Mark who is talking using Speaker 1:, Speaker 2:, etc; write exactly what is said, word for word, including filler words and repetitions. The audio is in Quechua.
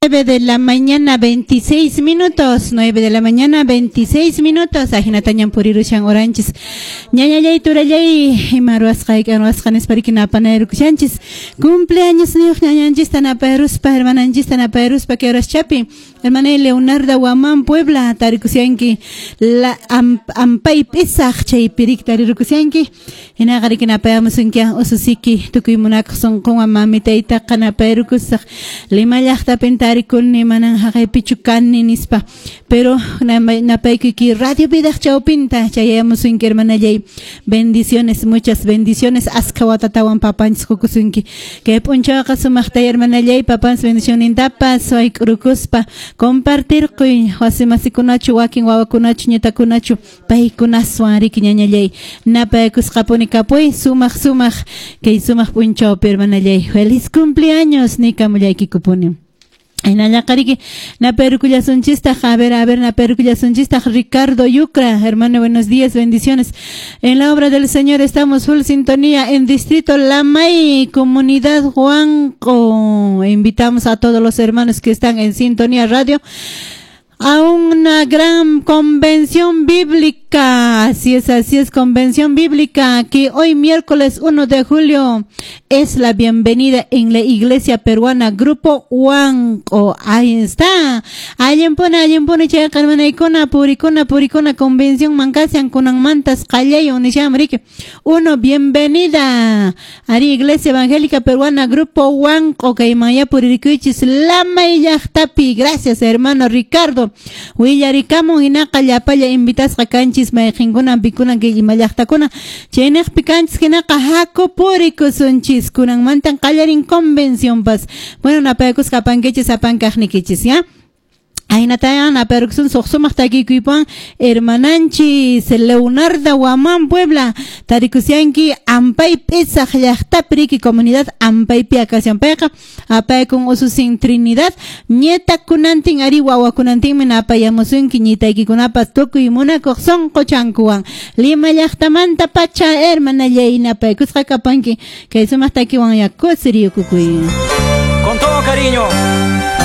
Speaker 1: nueve de la mañana veintiséis minutos, nueve de la mañana veintiséis minutos, ahinatañan purirushan horanchis. Ñañallay, turallay, ima ruwasqayki ruwasqa nispariki napanayrukushanchis. Cumpleaños niyuq ñañanchista napayruspa, hermananchista napayruspa kay horaschapi. Hermana Leonardo Guamán Puebla, tarikusianki, la am, ampay pisaq chaypirik tarirukusianki. Hinaqa riki napayamusunki ususiki tukuy munakuq sunqunwan mamitaytaqa napayrukusaq. Lima llaqtapin tarikuni manan haqaypichu kani nispa. Pero napaykuyki Radio Vidaq chawpinta chayamusunki hermanallay. Bendiciones, muchas bendiciones. Aska watatawan papanchis qukusunki. Kay p'unchawqa sumaqta hermanallay papanchis bendicionintapas wayk'urukuspa compartirquy wasimasikunachu wakin wawakunachu ñitakunachu paykunaswan riki ñañallay napaykusqapuni kapuy sumaq sumaq kay sumaq p'unchawpi hermanallay. Feliz cumpleaños nikamullaykikupuni. Hinallaqariki naperukullasunchistaq, a ver, a ver, naperukullasunchistaq Ricardo Yucra, hermano, buenos días, bendiciones. En la obra del Señor estamos full sintonía en Distrito Lamay, Comunidad Huanco. Invitamos a todos los hermanos que están en Sintonía Radio a una gran convención bíblica. Así es, así es, convención bíblica, que hoy miércoles uno de julio es la bienvenida en la Iglesia Peruana, Grupo Huanco. Ahí está. Allinpuni, allinpuni, chayqa hermanaykuna, purikuna, purikuna, convención mankasian, kunan mantas, qallayo, nisham, riki. Uno, bienvenida. Ari, Iglesia Evangélica Peruana, Grupo Huanco, kaymanya puririkuychis, Lamay llaqtapi. Gracias, hermano Ricardo. Willarikamun hinaqa llapalla invitasqa kanchis mayqinkuna pikuna kay ima llaqtakuna chaynaqpi kanchis hinaqa haku purikusunchis kunanmantan qallarin convención pas. Bueno, napaykusqa apankichis apankaqnikichis, ya. Ahinatayan napayrikusun suq sumaq takikuypuwan hermananchis Leonardo Guamán Puebla tarikusianki ampay p'isaq llaqtapi riki comunidad ampaypi akasyan payqa apaykun ususin Trinidad ñitakunantin ari wawakunantinmi napayamusunki ñitaykikunapas tukuy munakuq sunquchankuwan Lima llaqtamanta pacha hermanallay napaykusqa kapanki kay sumaq takiwan ya kusiriyukukuy.
Speaker 2: Con todo cariño.